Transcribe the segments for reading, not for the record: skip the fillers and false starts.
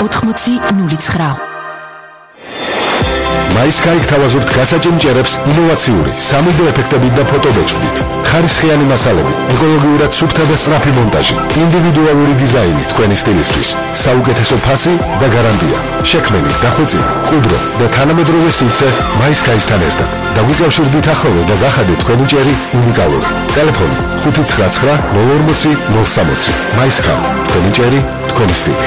8009. მაისკაი გთავაზობთ გასაჭიმჭერებს ინოვაციური 3D ეფექტებით და ფოტობეჭდით. ხარისხიანი მასალები, ეკოლოგიურად სუფთა და სწრაფი მონტაჟი, ინდივიდუალური დიზაინი თქვენი სტილისთვის, საუკეთესო ფასი და გარანტია. შექმენი, დახვეწილი, მყუდრო და თანამედროვე სივრცე მაისკაისთან ერთად. დაგვიკავშირდით ახალ და გახადეთ თქვენი ჭერი უნიკალური. ტელეფონი 599 040 060. მაისკაი, თქვენი ჭერი, თქვენი სტილი.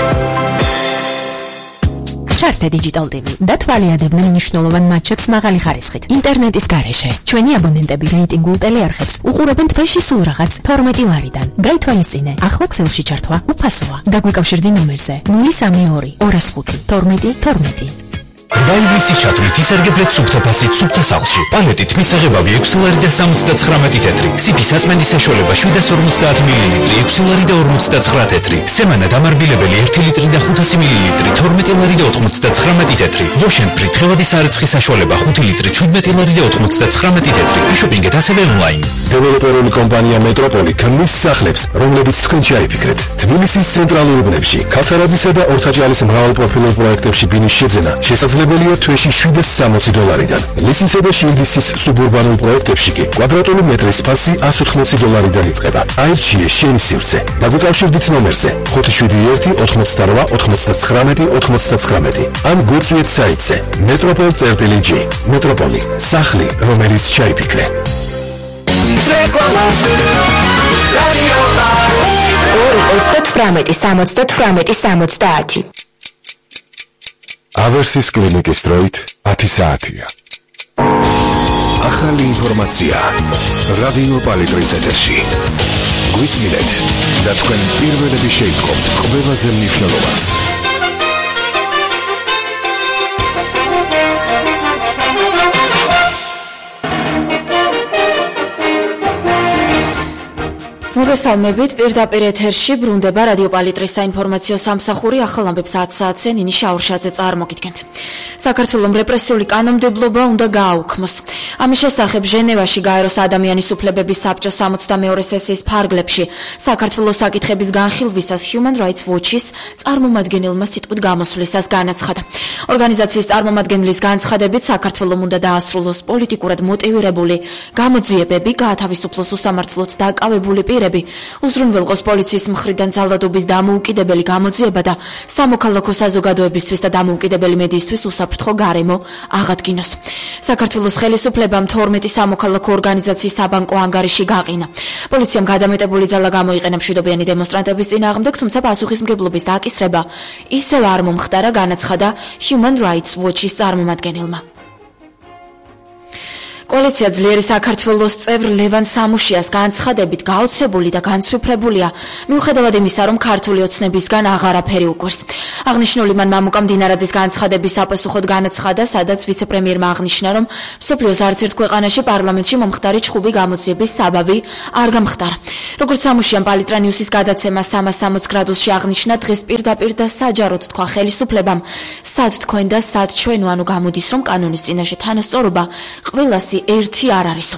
ჩართე Digital TV და თვალიადებდნენ მნიშვნელოვან მატჩებს მაღალი ხარისხით. ინტერნეტის გარეშე ჩვენი აბონენტები რეიტინგულ ტელეარხებს უყურებენ თვეში სულ რაღაც 12 ლარიდან. გაითვალისწინე, ახლა ქსელში ჩართვა უფასოა. დაგვიკავშირდი ნომერზე 032 205 12 12. Დაინგლისის ჩათვლით ისერგებლეთ სუფთა ფასით სუფთა სახლში. პალეტით მისაღებავი 6 ლარი და 79 თეთრი. სიფის აწმენდის საშუალება 750 მილილიტრი, 6 ლარი და 59 თეთრი. სემანა დამარბილებელი 1 ლიტრი და 500 მილილიტრი, 12 ლარი და 99 თეთრი. Lotion Free თხევადი სარეცხის საშუალება 5 ლიტრი, 17 ლარი და 99 თეთრი. შოპინგეთ ასევე ონლაინ. დეველოპერული კომპანია მეტროპოლი ქმნის სახლებს, რომლებიც თქვენ ჩაიფიქრეთ. თბილისის ცენტრალურ უბნებში, ქავთარაძისა და ორთაჭალის მრავალპროფილურ პროექტებში ბინის შეძენა შესაძლებელია თვეში 760 დოლარიდან. ლისისა და შილდისის სუბურბანულ პროექტებში კი კვადრატული მეტრის ფასი 180 დოლარიდან იწყება. აირჩიე შენი სივრცე. დაგვიკავშირდით ნომერზე 571 88 99 99 ან გვიწვიეთ საიტზე metropol.g. მეტროპოლი, სახლი, რომელიც ჩაიფიქრე. 2 18 70. ავერსის კლინიკის დროით 10 საათია. ახალი ინფორმაცია რადიო პალიტრის ეთერში. გვისმინეთ და თქვენ პირველები შეიტყობთ ყველაზე მნიშვნელოვანს. მოგესალმებით, პირდაპირ ეთერში ბრუნდება რადიო პალიტრის საინფორმაციო სამსახური. ახალ ამბებს 10 საათზე ნინი შაურშაძე წარმოგიდგენთ. საქართველოს რეპრესიული კანონმდებლობა უნდა გააუქმოს. ამის შესახებ ჟენევაში გაეროს ადამიანის უფლებების საბჭოს 62 სესიის ფარგლებში საქართველოს საკითხების განხილვისას Human Rights Watch-ის წარმომადგენელმა სიტყვით გამოსვლისას განაცხადა. ორგანიზაციის წარმომადგენლის განცხადებით საქართველოს უნდა დაასრულოს პოლიტიკურად მოტივირებული გამოძიებები, გაათავისუფლოს უსამართლოდ დაკავებული პირები, უზრუნველყოს პოლიციის მხრიდან ძალადობის დამოუკიდებელი გამოძიება და სამოქალაქო საზოგადოებისთვის და დამოუკიდებელი მედიისთვის უსაფრთხო გარემო აღადგინოს. საქართველოს ხელისუფლებამ 12 სამოქალაქო ორგანიზაციის საბანკო ანგარიში გაყინა. პოლიციამ გადამეტებული ძალა გამოიყენა მშვიდობიანი დემონსტრანტების წინააღმდეგ, თუმცა პასუხისმგებლობის დაკისრება ისევ არ მომხდარა, განაცხადა Human Rights Watch-ის წარმომადგენელმა. კოალიცია ძლიერი საქართველოს წევრ ლევან სამუშიას განცხადებით გაოცებული და განცვიფრებულია, მიუხედავად იმისა, რომ ქართული ოცნებისგან აღარაფერი უკვირს. აღნიშნული მან მამუკა მდინარაძის განცხადების საპასუხოდ განაცხადა, სადაც ვიცე-პრემიერმა აღნიშნა, რომ მსოფლიოს არც ერთ ქვეყანაში პარლამენტში მომხდარი ჩხუბი გამოძიების საბაბი არ გამხდარა. როგორც სამუშიამ პალიტრა ნიუსის გადაცემა 360 გრადუსში აღნიშნა, დღეს პირდაპირ და საჯაროდ თქვა ხელისუფლებამ, სად თქვენ და სად ჩვენ, ანუ გამოდის, რომ კანონის წინაშე თანასწორობა ყველასი ერთი არ არისო.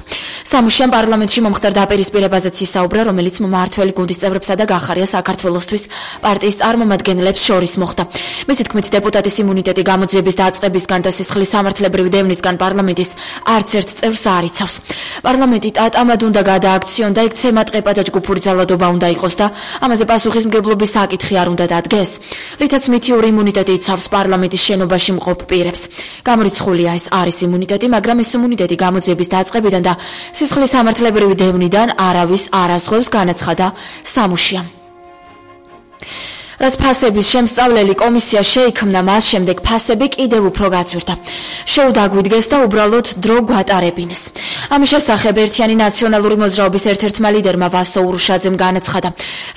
სამუშიამ პარლამენტში მომხდარ დაპირისპირებაზეც ისაუბრა, რომელიც მმართველი გუნდის წევრებსა და გახარია საქართველოსთვის პარტიის წარმომადგენლებს შორის მოხდა. მისი თქმით, დეპუტატის იმუნიტეტი გამოძიების დაწყებისგან და სისხლის სამართლებრივი დევნისგან პარლამენტის არც ერთ წევრს არ იცავს. პარლამენტი ტატამად უნდა გადააქციონ და იქ ცემატყეპა და ჯგუფური ძალადობა უნდა იყოს და ამაზე პასუხისმგებლობის საკითხი არ უნდა დადგეს, რითაც მითიური იმუნიტეტი იცავს პარლამენტის შენობაში მყოფ პირებს. გამორიცხულია ეს არის იმუნიტეტი, მაგრამ ეს იმუნიტეტი გამოძიების დაწყებიდან და სისხლის სამართლებრივი დევნიდან არავის არ აზღვევს, განაცხადა სამუშიამ. რაც ფასების შემსწავლელი კომისია შეიქმნა, მას შემდეგ ფასები კიდევ უფრო გაწვირდა. შოუ დაგვიდგეს და უბრალოდ დრო გვატარებინეს. ამის შესახებ ერთიანი ნაციონალური მოძრაობის ერთ-ერთმა ლიდერმა ვასო ურუშაძემ განაცხადა.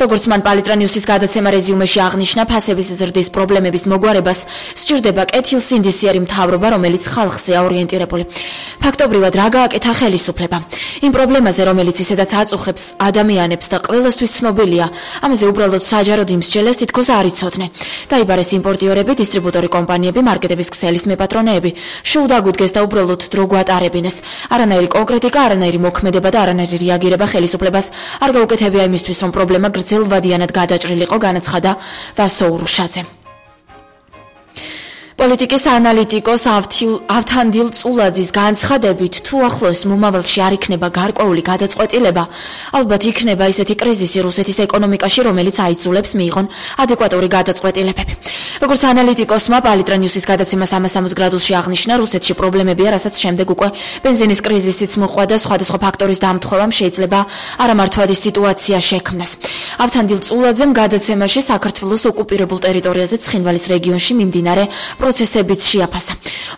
როგორც მან პალიტრა ნიუსის გადაცემა რეზიუმეში აღნიშნა, ფასების ზრდის პრობლემების მოგვარებას სჭირდება კეთილსინდისიერი მთავრობა, რომელიც ხალხზეა ორიენტირებული. ფაქტობრივად რა გააკეთა ხელისუფლება? იმ პრობლემაზე, რომელიც ისედაც აწუხებს ადამიანებს და ყველასთვის ცნობილია, ამაზე უბრალოდ საჯაროდ იმსჯელეს თითქოს არ იცოდნენ. დაიბარეს იმპორტიორები, დისტრიბუტორი კომპანიები, მარკეტების ქსელის მეპატრონეები. შოუ დაგვიდგეს და უბრალოდ დრო გვატარებინეს. არანაირი კონკრეტიკა, არანაირი მოქმედება და არანაირი რეაგირება ხელისუფლებას არ გაუკეთებია იმისთვის, რომ პრობლემა გრძელვადიანად გადაჭრილიყო, განაცხადა ვასო ურუშაძე. პოლიტიკის ანალიტიკოს ავთანდილ წულაძის განცხადებით, თუ ახლოს მომავალში არ იქნება გარკვეული გადაწყვეტილება, ალბათ იქნება ისეთი კრიზისი რუსეთის ეკონომიკაში, რომელიც აიძულებს მიიღონ ადეკვატური გადაწყვეტილებები. როგორც ანალიტიკოსმა პალიტრა ნიუსის გადაცემა 360 გრადუსში აღნიშნა, რუსეთში პრობლემებია, რასაც შემდეგ უკვე ბენზინის კრიზისიც მოყვა და სხვადასხვა ფაქტორის დამთხოვამ შეიძლება არამართვადი სიტუაცია შექმნას. ავთანდილ წულაძემ გადაცემაში საქართველოს ოკუპირებულ ტერიტორიაზე ცხინვალის რეგიონში მიმდინარე პროცესებიც შეაფასა.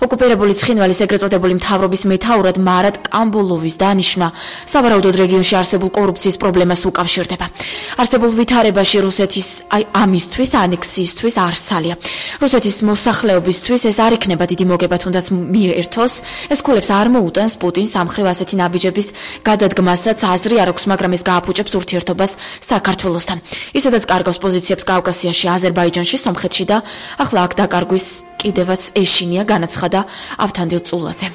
ოკუპირებული ცხინვალის ეგრეთ წოდებული მთავრობის მეთაურად მარატ კამბულოვის დანიშვნა სავარაუდოდ რეგიონში არსებულ კორუფციის პრობლემას უკავშირდება. არსებულ ვითარებაში რუსეთის ამისთვის ანექსიისთვის არსალია. რუსეთის მოსახლეობისთვის ეს არ იქნება დიდი მოგება, თუნდაც მიერთოს, ეს ქულებს არ მოუტანს პუტინს ამხრივ ასეთი ნაბიჯების გადადგმასაც აზრი არ აქვს, მაგრამ ეს გააფუჭებს ურთიერთობას საქართველოსთან. ისედაც კარგავს პოზიციებს კავკასიაში, აზერბაიჯანში, სომხეთში და ახლა აქ დაკარგვის კიდევაც ეშინია, განაცხადა ავთანდილ წულაძემ.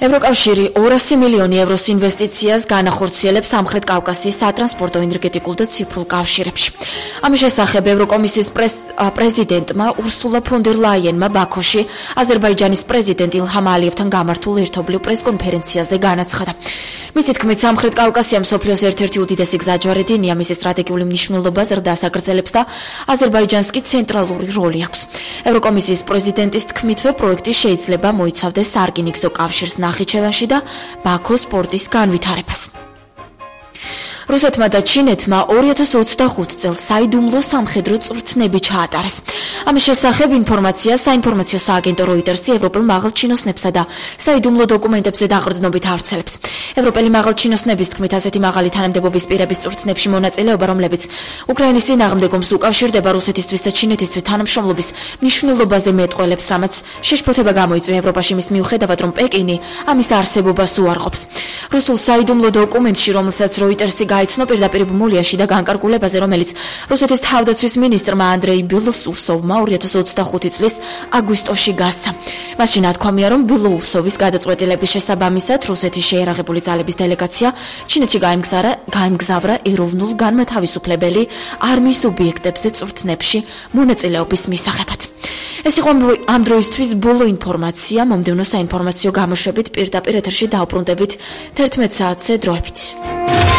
ევროკავშირი 200 მილიონი ევროს ინვესტიციას განახორციელებს სამხრეთ კავკასიის სატრანსპორტო, ენერგეტიკულ და ციფრულ კავშირებში. ამის შესახებ ევროკომისიის პრეზიდენტმა ურსულა ფონ დერ ლაიენმა ბაქოში აზერბაიჯანის პრეზიდენტ ილჰამ ალიევთან გამართულ ერთობლივ პრესკონფერენციაზე განაცხადა. მისი თქმით, სამხრეთ კავკასია მსოფლიოს ერთ-ერთი უდიდესი გზაჯვარედინია, მისი სტრატეგიული მნიშვნელობა ზრდას აგრძელებს და აზერბაიჯანს კი ცენტრალური როლი აქვს. ევროკომისიის პრეზიდენტის თქმითვე, პროექტი შეიძლება მოიცავდეს სარკინიგზო კავშირს ნახიჩევანში და ბაქოს პორტის განვითარებას. რუსეთმა და ჩინეთმა 2025 წელს საიდუმლო სამხედრო წვრთნები ჩაატარეს. ამის შესახებ ინფორმაცია საინფორმაციო სააგენტო როიტერსი ევროპელ მაღალჩინოსნებსა და საიდუმლო დოკუმენტებზე დაყრდნობით ავრცელებს. ევროპელი მაღალჩინოსნების თქმით, ასეთი მაღალი თანამდებობის პირების წვრთნებში მონაწილეობა, რომლებიც უკრაინის წინააღმდეგ ომს უკავშირდება, რუსეთისთვის და ჩინეთისთვის თანამშრომლობის მნიშვნელობაზე მეტყველებს, რამაც შეშფოთება გამოიწვია ევროპაში მის მიუხედავად, რომ პეკინი ამის არსებობას უარყოფს. რუსულ საიდუმლო დოკუმენტში, რომელსაც როიტერსი გაიცნო პირდაპირ ბმულიაში და განკარგულებაზე, რომელიც რუსეთის თავდაცვის მინისტრმა ანდრეი ბილოუსოვმა 2025 წლის აგვისტოში გასცა. მასში ნათქვამია, რომ ბილოუსოვის გადაწყვეტილების შესაბამისად რუსეთის შეიარაღებული ძალების დელეგაცია ჩინეთში გაემგზავრა ეროვნულ განმათავისუფლებელი არმიის ობიექტებზე წვრთნებში მონაწილეობის მისაღებად. ეს იყო ამ დროისთვის ბოლო ინფორმაცია. მომდევნო საინფორმაციო გამოშვებით პირდაპირ ეთერში დავბრუნდებით 11 საათზე დროებით.